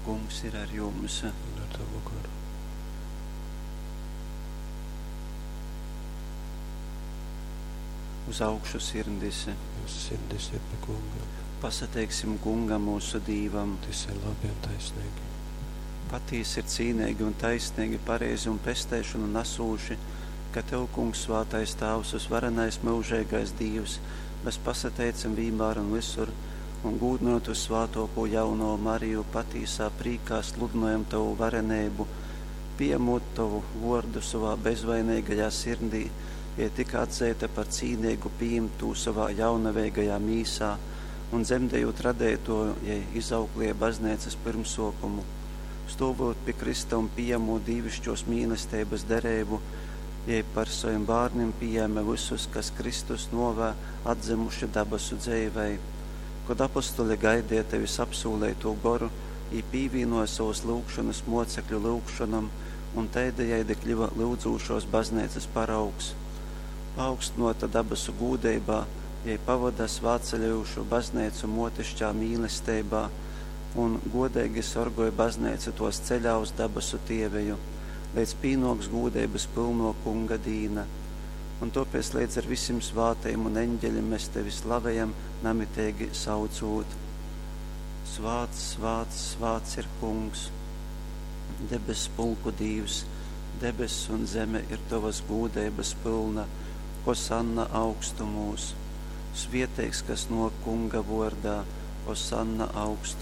Kungs ir ar jums. Un ar tavu goru. Uz augšu sirdis. Mūsu sirdis ir pie Kunga. Pasateiksim Kungam mūsu Dīvam. Tas ir labi un taisnīgi. Patīsi ir cīnīgi un taisnīgi, pareizi un pesteišanu nesūši, ka Tev, Kungs, svātais Tāvs, uzvarenais mūžīgais Dīvs, mēs pasateicam vienmēr un visur, un gūdinot uz svātoko jauno Mariju, patīsā prīkā sludinojam Tavu varenību, pieņemot Tavu vārdu savā bezvainīgajā sirdī, ja tika atzīta par cīnīgu pieņemtu savā jaunaveigajā mīsā un dzemdējot radēto, ja izauklie baznīcas pirmsokumu, stovot pie Krista un pieņemot dīvišķos mīlestības derību, ja par saviem bērniem pieņēma visus, kas Kristus novē atzimuši dabasu dzīvei. Kad apostoli gaidīja tevis apsūlēto goru, i pīvīnoja savus lūgšanas mocekļu lūgšanam, un tēdējādi kļuva lūdzūšos baznīcas paraugs. Paaugstinota dabasu gūdeibā, jai pavada svātceļojušu baznīcu motišķā mīlestībā un godīgi sorgoja baznīcu tos ceļā uz dabasu tieveju, līdz pīnoks gūdeibas pilno kunga dīna. Un tāpēc līdz ar visiem svātajiem un eņģeļiem mēs tevi slavējam, namitīgi saucot. Svāts, svāts, svāts ir kungs, debes pulku dīvs, debes un zeme ir tavas gūdeibas pilna, Hosanna augstumūs. Svieteigs, kas no kunga vordā, Hosanna augstumūs.